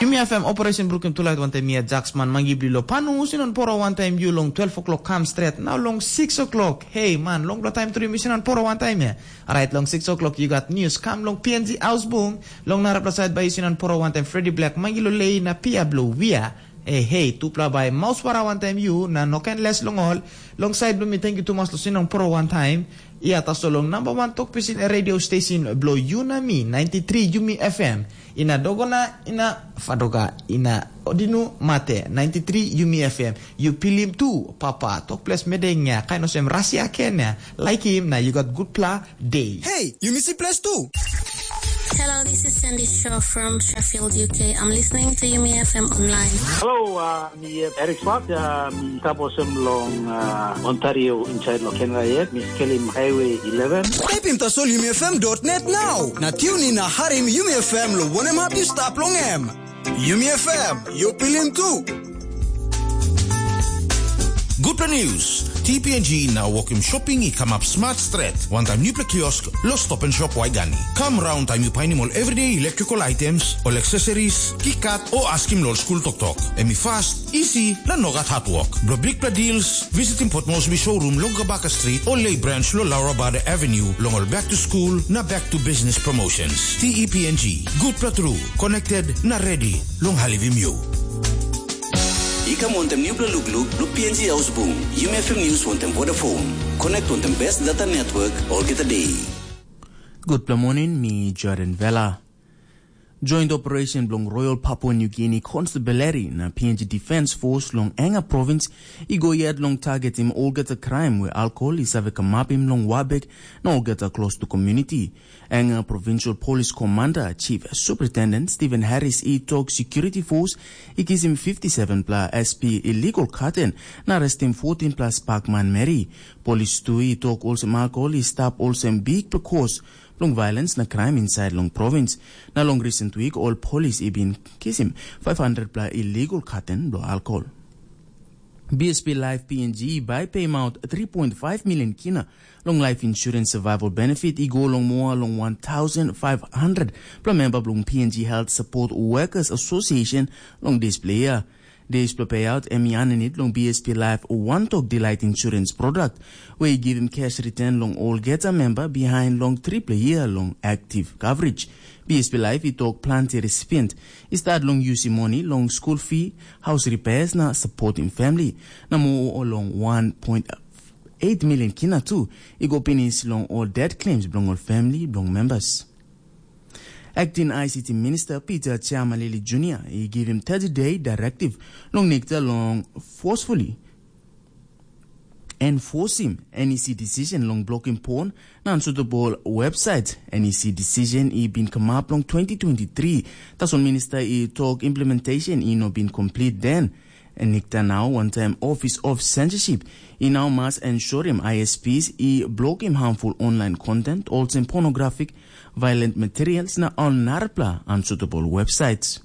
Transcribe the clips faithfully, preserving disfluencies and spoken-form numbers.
Yumi F M operation brukim tulait wantaim mi Jaksman mangi bilong panu usinon poro wantaim yu long twelve o'clock kam stret. Nau long six o'clock. Hei man, long blo taim tru yumi sinon poro wantaim ya. Alright, long six o'clock you got news kam long P N G Ausbung. Long narapela side bai yu sinon poro wantaim Freddy Black mangi lo lei na pia blo wia. Hei, hei, tupela bai maus para wantaim yu na no ken les long ol. Long side blo mi thank you tumas lo sinon poro wantaim. Ia tasol long namba wan tok pisin radio station blo yu na mi ninety three Yumi F M. Ina dogona, ina fadoga, ina odinu mate, ninety three Yumi F M. Yu pilim tu, papa, tok ples medeng ya, kain osem rasia ken ya. Like him na you got good pla day. Hey, you missy place too. Hello, this is Sandy Shaw from Sheffield, U K. I'm listening to Yumi F M online. Hello, uh, mi uh, Eric Swat, uh, mi taposim long uh, Ontario inside lo Canada yet. Mi skelim Highway eleven. Taipim tasol Yumi F M dot net now. Na tune in na harim Yumi F M lo wanem hap yu stap long em. Yumi F M, yu pilim tu. Gutpela news. T P N G na wokim shopping i kamap smart stret. Wantaim nupela kiosk lo Stop and Shop Waigani. Kam raun taim yu painim ol everyday electrical items, ol accessories, kikat o askim lo ol skul toktok. Em i fast, easy, na nogat hard work. Blo bigpela deals, visitim Port Moresby showroom long Gabaka Street o Lay Branch lo Laura Bada Avenue long ol back to school na back to business promotions. T E P N G, gutpela tru, connected na ready long halivim yu. I kam wantem nupela lukluk blo P N G Ausbung, Yumi F M News wantem Vodafone. Connect wantem best data network olgeta day. Gutpela morning, mi Jordan Vela. Joint operation bilong Royal Papua New Guinea Constabulary na P N G Defence Force long Enga Province i go yet long targetim olgeta crime where alcohol i save kamapim long Wabek na olgeta close to community. Enga Provincial Police Commander Chief Superintendent Stephen Harris i tok security force i kisim fifty-seven pla S P illegal carton na arrestim fourteen pla spak manmeri. Polis tu i tok olsem alcohol i stap olsem big pekos bilong violence na crime inside long province. Na long recent week ol polis i bin kisim five hundred pla illegal carton bilong alcohol. B S P Life P N G bai payim out three point five million kina long life insurance survival benefit i go long moa long one thousand five hundred pla memba bilong P N G Health Support Workers Association long dispela year. Dispela payout em i aninit long B S P Life One Tok Delight Insurance Product, where i givim cash return long olgeta memba behind long tripla year long active coverage. B S P Life i tok planti recipient i start long yusim moni long school fee, house repairs na supporting family, na mo long one point eight million kina tu i go pinis long ol debt claims bilong ol family bilong members. Acting I C T Minister Peter Chiamalili Junior i givim thirty day directive long nikta long forcefully enforcing N E C decision long blocking porn na unsuitable website. N E C decision i bin come up long twenty twenty-three. Tasol minister i talk implementation i no bin complete then. Nikta now one time Office of Censorship i now must ensurim I S Ps i blocking harmful online content, olsem pornographic, violent materials na all narapla unsuitable websites.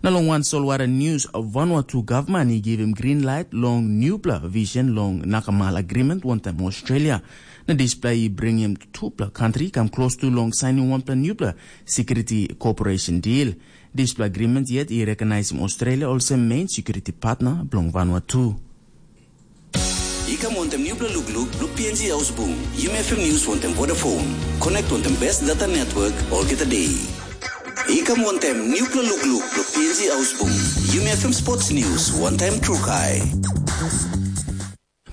Na long wan solwara news, Vanuatu gavman i givim green light long newpela vision long Nakamal Agreement wantaim Australia. Na dispela i bringim tupela kantri kam klostu long sainim wanpela newpela security cooperation deal. Dispela agreement yet i recognisim Australia olsem main security partner bilong Vanuatu. I kam wantem nupela lukluk blo P N G Ausbung, Yumi F M News wantem Vodafone. Connect wantem best data network olgeta day. I kam wantem nupela lukluk blo P N G Ausbung, Yumi F M Sports News wantaim Trukai.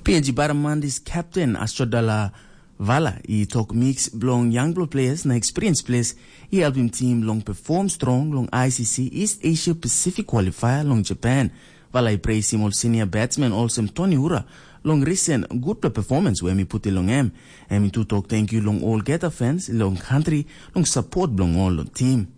P N G Baramandis captain Ashodala Vala i tok mix bilong young players na experience players i helpim team long perform strong long I C C East Asia Pacific qualifier long Japan. Vala i praise him ol senior batsmen olsem Tony Ura long recent gutpela performance we mi puti long em. Em i tu tok thank you long olgeta fans long country long support bilong ol long team.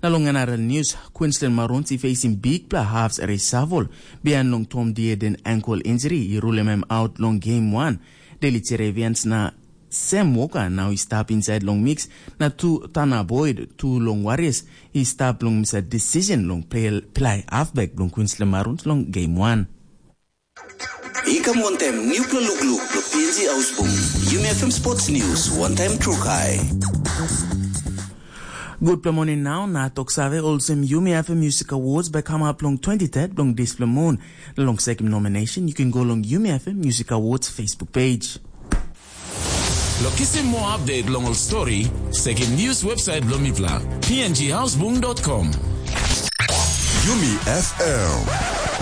Na long another news, Queensland Maroons i facing bigpela halves reshuffle bihain long Tom Dearden ankle injury i rulim em out long game one. Daily Cherry Evans na Sam Walker now i stap inside long mix, na tu Tana Boyd tu long Warriors i stap long misa decision long play, play halfback bilong Queensland Maroons long game one. I kam wantem nupela lukluk blo P N G Ausbung, Yumi F M Sports News wantaim Trukai. Gutpela moning nau na tok save olsem Yumi F M Music Awards bai kamap long twenty-third bilong dispela mun. Na long sekim nomination, you can go long Yumi F M Music Awards Facebook page. Lo kisim moa update long ol stori, sekim news website bilong mipela, p n g houseboom dot com. Yumi F M.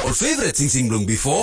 Ol favorite singsing bilong before.